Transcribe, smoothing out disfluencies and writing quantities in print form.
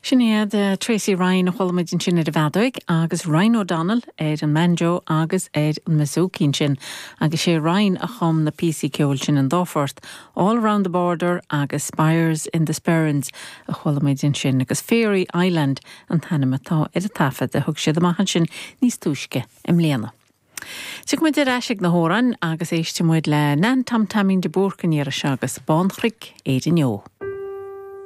Sin iad Tracey Ryan a chuala muid ansin ar an bhfeadóig agus Ryan O'Donnell ar an mbanjo agus ar an mbouzouki ansin agus sé Ryan a chum na píosaí ceoil sin an dá phort, All Around the Border agus Spires in the Sperrins a chuala muid ansin agus Fairy Island an t-ainm atá ar an taifead a thug siad amach ansin níos túisce i mbliana. Tiocfaidh muid ar ais ag na hamhráin agus éistfidh muid le Nan Tom Taimín de Búrca an iarraidh seo agus Bánchnoic Éirinn Eo.